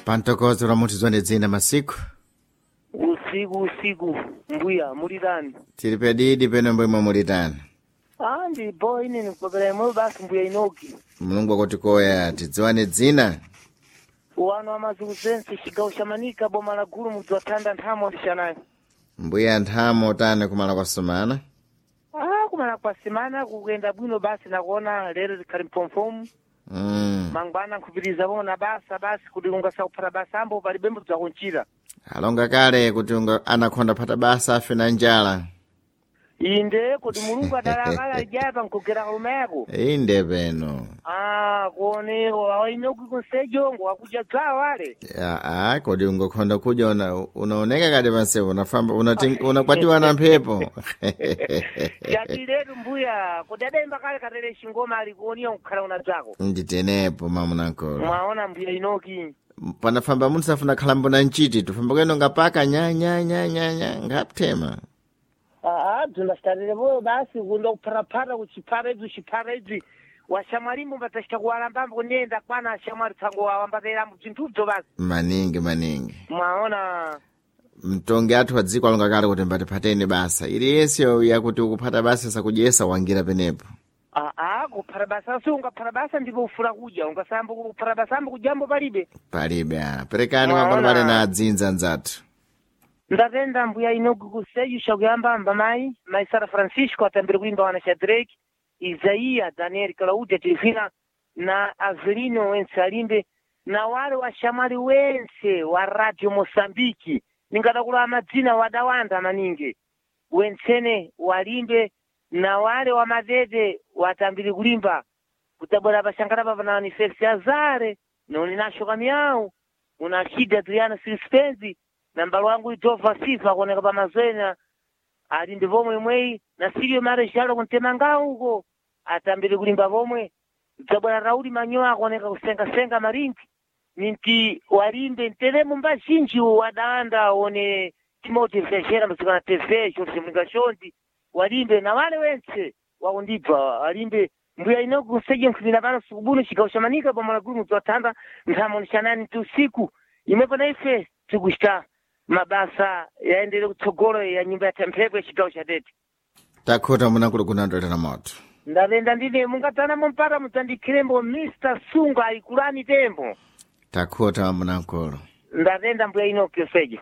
Pantokozo la munthu zonde dzina masiku. Usiku usiku mbuya mulitani? Tili pedidi peno mbwemwe mulitani. Ah, ndipo ine nikupepera imwe basi mbuya Inoki. Mulungu akutikoya tidziwane dzina. Wano amazulu zense chigawo cha Manika boma la Gulu mudzi wa Thanda nthamo ndishanayi. Mbuya nthamo tani kumala kwa sumana. Ah, kumala kwa semana kukuyenda bwino basi nakuona lero likhali mphomphomu. Mangwana nkhupitiriza pomwe na basa basi kuti ungasakuphata basa ambo palibe mbudzi wakunchita. Alonga kale kuti unga anakhonda phata basa afe na njala. Inde kuti Mulungu adalakala lijaya pankugera kalume yako. Inde peno. Ah, kuone wa Inoki kunsejo ngo wakuja dzawo ale. Aa, kodi ungokhonda kudya unaoneka kati pansepo unafamba unakwatiwa na mphepo. Jatiletu mbuya kuti adayimba kale katere chingoma ali kuoniwa kukhala una dzako. Nditenepo mamunankolo. Mwaona mbuya Inoki. Panafamba munthu safuna khalambo na nchiti tufamba kuyeno ngapaka nya nya nya nya nya ngapthema. Ah, bzindasitarire basi kunda kuphataphata kuchiphata ibzi uchiphata ibzi washamwalimbo mbatachita kuwalambambo kuniyenda kwana ashamwali tsango wawambaterambo bzinthudzo basi. Maningi maningi. Mwaona Mtongi athu wa dziko alonga kale kuti mbatiphateni basa. Iliyese yakuti ukuphata basa sakudyesa wangira penepo. aa kuphata basa si ungaphata basa ndipo ufuna kudya ungasayamba kuphata basa ambo kudyambo palibe. Palibe ah. Perekani mangwana Mwaona. pale na adzinza anzathu. Ndatenda mbuya Inoki kuseju chakuyamba mayi mayi Sara Francisco atambire kuimba wana Shadrake Isaia Daniel Claudia Tilifina na Avelino wense alimbe na wale washamwali wense wa Radio Mosambiki ningadakula madzina wadawanda maningi wensene walimbe na wale wa madede watambire kulimba kutabwera pashankara papa na Felix Azare noni nasho kamyau una Kid Adriana Sispenzi na mbalo wangu Idova Sifa kuoneka pamazwena ali ndi pomwe imweyi na Silio Marechalo kuntemanga uko atambire kulimba pomwe dzabwera Rauli Manyoa akuoneka kusengasenga maringi ninti walimbe nteremo mbazhinji wadawanda one Timothy Vejera mzikana TV Jorge Mlinga Shondi walimbe na wale wense wakundibva walimbe mbuya ino kuseje nkhumira pano sikubuno chigawo cha Manika boma la Gulu mudzi wa Thanda nthamo nishanani ti usiku imwepo na ife tikuchita mabasa yaendere kutsogolo ya nyumba ya mphepo ya chigawo cha Tete. Takhuta munankulu kunandolera moto. Ndatenda ndine mungadzanamo mpata mudzandikhirembo Mr. Sunga ayikulani tembo. Takhuta munankulu. Ndatenda mbuya Inoki Sejo.